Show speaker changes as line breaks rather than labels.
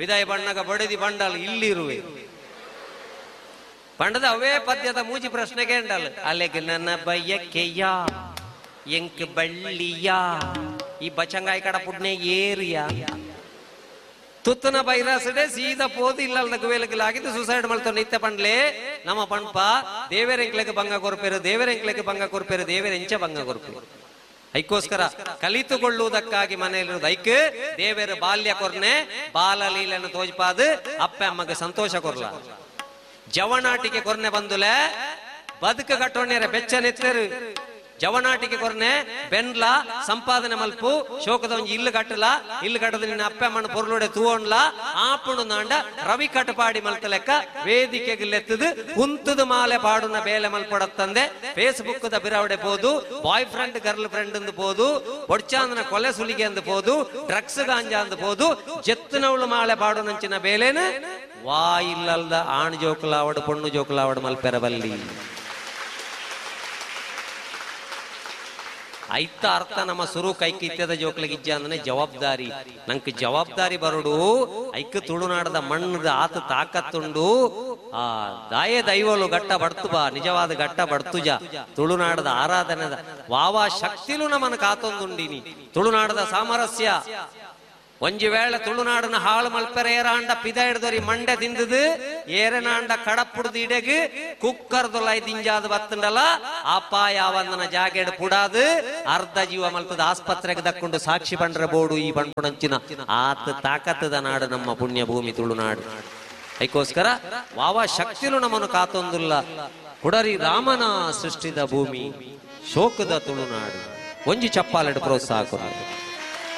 ಪಿದಾಯಿ ಬಣ್ಣಗ ಬಡದಿ ಬಂಡಲ್ ಇಲ್ಲಿರುವೆ ಪಂಡದ ಅವೇ ಪದ್ಯದ ಮೂಜಿ ಪ್ರಶ್ನೆಗೆ ಎಂಡಲ್ ಅಲೆಗ್ ನನ್ನ ಬಯ್ಯಕ್ಕೆಯ ಎಂಕ್ ಬಳ್ಳಿಯ ಈ ಬಚಂಗಾಯಿ ಕಡ ಪುಡ್ನೆ ಏರಿಯಾ ತುತ್ತನ ಬೈರಾಸಡೆ ಸೀದಾ ಪೋದು ಇಲ್ಲಲ್ದ ಗುವೇಲಗಿಲಾಗಿದ್ದು ಸೂಸೈಡ್ ಮಲ್ತ ನಿತ್ಯ ಪಂಡ್ಲೆ ನಮ್ಮ ಪಂಪ ದೇವರೆಂಕ್ಲೆಗೆ ಭಂಗ ಕೊರ್ಪೇರು ದೇವರೆಂಕ್ಲೆಗೆ ಭಂಗ ಕೊರ್ಪೇರು ದೇವರೆಂಚ ಭಂಗ ಕೊರ್ಪೇರು. ಐಕ್ಕೋಸ್ಕರ ಕಲಿತುಕೊಳ್ಳುವುದಕ್ಕಾಗಿ ಮನೆಯಲ್ಲಿರುವುದು ಐಕ್ ದೇವರ ಬಾಲ್ಯ ಕೊರ್ನೆ ಬಾಲಲೀಲನ್ನು ತೋಜ್ಪಾದು ಅಪ್ಪ ಅಮ್ಮಗೆ ಸಂತೋಷ ಕೊರ್ಲ ಜವನಾಟಿಗೆ ಕೊರ್ನೆ ಬಂದುಲೆ ಬದುಕು ಕಟ್ಟೋಣ್ಯರ ಬೆಚ್ಚ ನೆತ್ತರು ಜವನಾಟಿಗೆ ಕೊರ್ನೆ ಬೆನ್ಲ ಸಂಪಾದನೆ ಮಲ್ಪು ಶೋಕದ ಒಂಜಿ ಇಲ್ಲು ಕಟ್ಟಲ ಇಲ್ಲು ಕಟ್ಟದ ನಿನ್ನ ಅಪ್ಪ ಅಮ್ಮನ ಪೊರ್ಲೋಡೆ ತೂವೊಂಡ್ಲ ಆಪುಣು ನಾಂಡ ರವಿ ಕಟಪಾಡಿ ಮಲ್ತ ಲೆಕ್ಕ ವೇದಿಕೆಗೆ ಲೆತ್ತದು ಕುಂತದ ಮಾಲೆ ಪಾಡುನ ಬೇಲೆ ಮಲ್ಪಡತ್ತಂದೆ ಫೇಸ್ಬುಕ್ the ಬಿರಾವಡೆ ಪೋದು ಬಾಯ್ ಫ್ರೆಂಡ್ ಗರ್ಲ್ ಫ್ರೆಂಡ್ ಅಂದು ಪೋದು ಬೊಡ್ಚಾಂದನ ಕೊಲೆ ಸುಲಿಗೆ ಅಂದು ಪೋದು ಡ್ರಗ್ಸ್ ಗಾಂಜಾ ಅಂದು ಪೋದು ಜೆತ್ತನವಳು ಮಾಲೆ ಪಾಡುನಂಚಿನ ಬೇಲೆನ ವಾ ಇಲ್ಲಲ್ದ ಆಣ್ ಜೋಕುಲಾವಡು ಪೊಣ್ಣು ಜೋಕುಲಾವಡು ಮಲ್ಪೆರಬಲ್ಲಿ. ಐತ ಅರ್ಥ ನಮ್ಮ ಸುರು ಕೈಕ್ ಇತ್ಯದ ಜೋಕ್ಲಿಗೆ ಇಜ್ಜ ಅಂದ್ರೆ ಜವಾಬ್ದಾರಿ ನಂಗೆ ಜವಾಬ್ದಾರಿ ಬರುಡು ಐಕ್ ತುಳುನಾಡದ ಮಣ್ಣದ ಆತ ತಾಕತ್ತುಂಡು ಆ ದಾಯೆ ದೈವಲು ಗಟ್ಟ ಬಡ್ತು ಬಾ ನಿಜವಾದ ಗಟ್ಟ ಬಡ್ತುಜ ತುಳುನಾಡದ ಆರಾಧನೆದ ವಾವಾ ಶಕ್ತಿಲು ನಮ್ಮನ್ನು ಕಾತೊಂದುಂಡಿನಿ ತುಳುನಾಡದ ಸಾಮರಸ್ಯ ಒಂಜಿ ವೇಳೆ ತುಳುನಾಡನ ಹಾಳು ಮಲ್ಪೆರೆ ಏರಾಂಡ ಪಿದ ಹಿಡ್ದರಿ ಮಂಡೆ ತಿಂದದು ಏರನಾಂಡ ಕಡಪುಡ್ದು ಇಡೆಗ್ ಕುಕ್ಕರ್ದೊಲೈ ದಿಂಜಾದ ಬತ್ತಂಡಲ ಅಪಾಯ ವಂದನ ಜಾಗೆಡ್ ಪುಡಾದು ಅರ್ಧ ಜೀವ ಮಲ್ಪದ ಆಸ್ಪತ್ರೆಗೆ ದಕ್ಕೊಂಡು ಸಾಕ್ಷಿ ಬಂಡ್ರ ಬೋಡು ಈ ಬಂಡ್ಪುಣಂಚಿನ ಆತ ತಾಕತ್ತದ ನಾಡು ನಮ್ಮ ಪುಣ್ಯ ಭೂಮಿ ತುಳುನಾಡು. ಅದಕ್ಕೋಸ್ಕರ ವಾವಾ ಶಕ್ತಿಲು ನಮ್ಮನ್ನು ಕಾತೊಂದುಲ್ಲ ಕುಡರಿ ರಾಮನ ಸೃಷ್ಟಿದ ಭೂಮಿ ಶೋಕದ ತುಳುನಾಡು. ಒಂಜಿ ಚಪ್ಪಾಲೆಡು ಪ್ರೋತ್ಸಾಹ ಕೊರು.